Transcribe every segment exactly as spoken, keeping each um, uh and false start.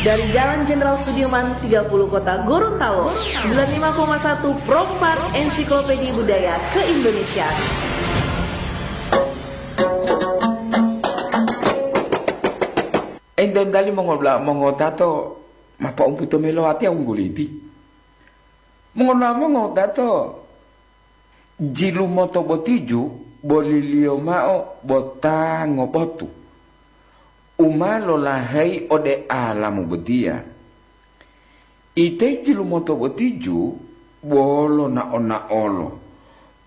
Dari Jalan Jenderal Sudirman tiga puluh Kota Gorontalo, sembilan lima koma satu Pro empat Ensiklopedia Budaya Keindonesiaan. Enten tali mongola-, mongotato mapa umputo melo ati wungguliti. Mongola mongotato Jilumoto botiju boliliyo mao bo ta ngobotu, u ma lolaheyi ode alamu botiya. Ite jilumoto botiju bolo nao-naolo,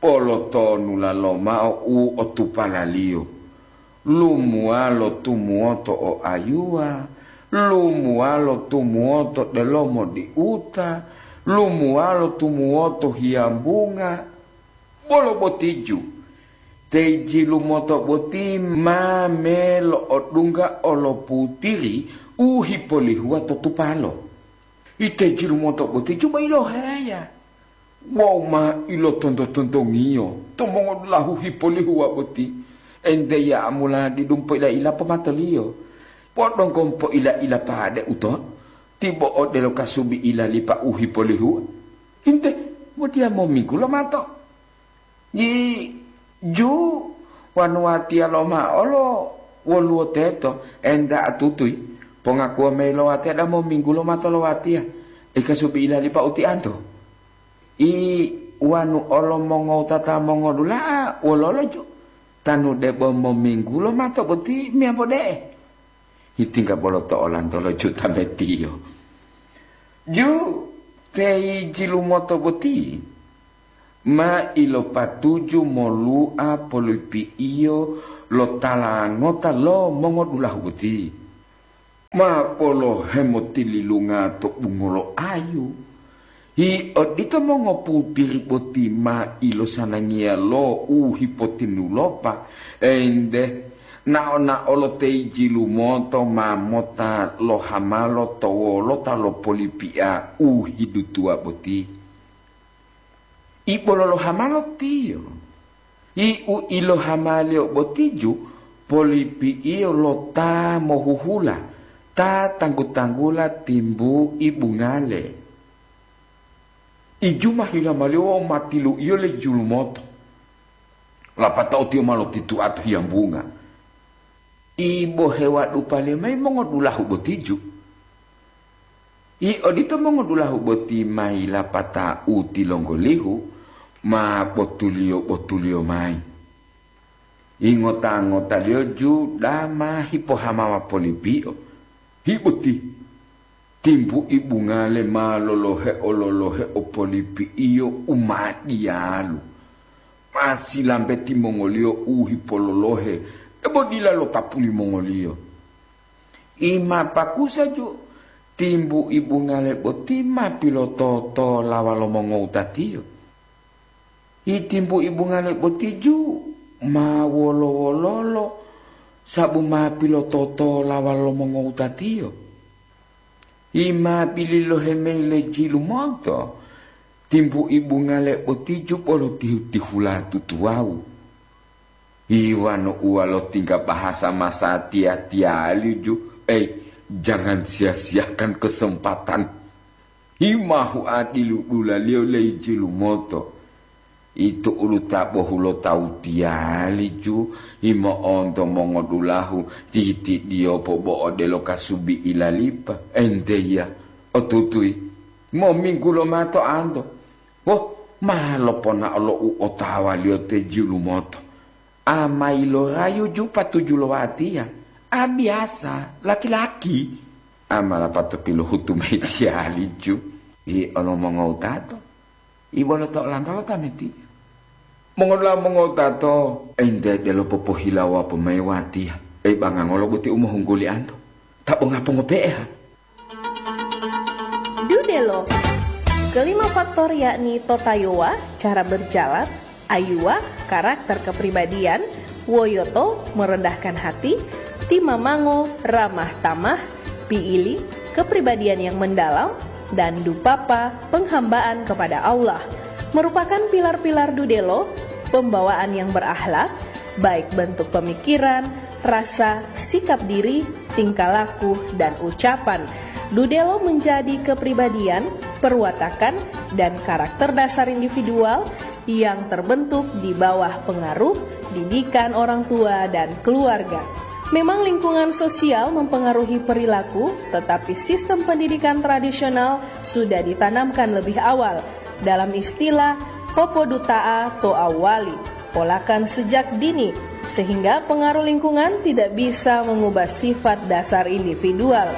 polotonula lomao u otupalaliyo. Lumuwalo tumuwoto o ayuwa, lumuwalo tumuwoto delomo diuta, lumuwalo tumuwoto hiyambunga. Bolo botiju, te jilumoto boti ma melo'odungga oloputiri u hipolihuwa to tupalo. Ite jilumoto boti juba iloheya wawu ma ilotonto-tontongiyo to mongodulahu hipolihuwa boti. Ente ya'amula didu poila-ila pomatoliyo, podonggo poila-ila pade uto, tibo odelo kasubi ilalipa u hipolihuwa. Inte, botiya mominggu lomato. Yi, ju, wanu watiya lomao lo woluwo teto, enta atutuyi, pongakuwa mayi lo watiya damo minggu lomato lo watiya, ika subi ilalipa utianto. I wanu olo mongowutata mongodula'a wololo ju, tanu debo mominggu lomato boti meyambo de'e? Hitingga bolo to olanto lo juta metiyo. Ju, teyi jilumoto boti ma ilopatuju molu'a polipi'iyo lo tala ngota lo mongodulahu boti. Ma polohe motililunga to bungolo ayu. Hi odito mongoputiri boti ma ilosanangiya lo u hipotinulopa, ente, nao-nao lo teyi jilumoto ma mota lohamalo to wolota lo polipi'a u hidutuwa boti. I bolo lohamalo tiyo. I u ilohamaliyo botiju polipi'iyo lo ta mohuhula, ta tanggu-tanggula timbu i bungale. Iju ma hilamaliyo wawu ma tilu'iyo le julumoto. Lapatao tiyo ma lotitu'a to hiyambunga. I bohe wadupaliyo mayi mongodulahu botiju. I odito mongodulahu boti ma yilapata u tilonggolihu ma botuliyo-botuliyo mayi. Ingota-ngotaliyo ju dama hipohamawa polipi'o. Hi boti, timbu i bungale ma lolohe-ololohe o polipi'iyo u ma diyalu. Ma silambe timongoliyo u hipololohe, debo dila lo tapu limongoliyo. I ma pakusa ju, timbu i bungale boti ma pilototola walo mongowutatiyo. I timbu i bungale boti ju ma wolo-wololo, sabu ma pilototola walo mongowutatiyo. I ma bilulohe mayi le jilumonto, timbu i bungale boti ju bolo tihu-tihula tutuwawu. Iwanu uwa lotingga bahasa masatiya-tiyali ju, ei, jangan sia-siakan kesempatan. Himahu adiludulaliyo leyi jilumoto. Itu ulu ta bohulotawu tiyali ju, himo'onto mongodulahu titidiyopo bo odelo kasubi ilalipa. Enteya, otutuyi, mominggu lomato anto. Woh, ma loponao lo u otawaliyo te jilumoto. A ma yilorayu ju patuju lo watiya. A biyasa, laki-laki. A ma lapato pilohutu mayi tiyali ju. Yi olo mongowutato. I bolo to olanto lo tameti. Mongola mongowutato, ente delo popohilawa po mayi watiya. Ei bangangolo boti u mohungguli anto. Ta bonga pongope'e ha. Dudelo. Kelima faktor yakni totayowa, cara berjalan, ayuwa, karakter kepribadian, woyoto, merendahkan hati, timamango, ramah tamah, piili, kepribadian yang mendalam, dan dupapa, penghambaan kepada Allah, merupakan pilar-pilar dudelo, pembawaan yang berakhlak, baik bentuk pemikiran, rasa, sikap diri, tingkah laku, dan ucapan. Dudelo menjadi kepribadian, perwatakan, dan karakter dasar individual yang terbentuk di bawah pengaruh didikan orang tua dan keluarga. Memang lingkungan sosial mempengaruhi perilaku, tetapi sistem pendidikan tradisional sudah ditanamkan lebih awal. Dalam istilah, popoduta'a to awali, polakan sejak dini, sehingga pengaruh lingkungan tidak bisa mengubah sifat dasar individual.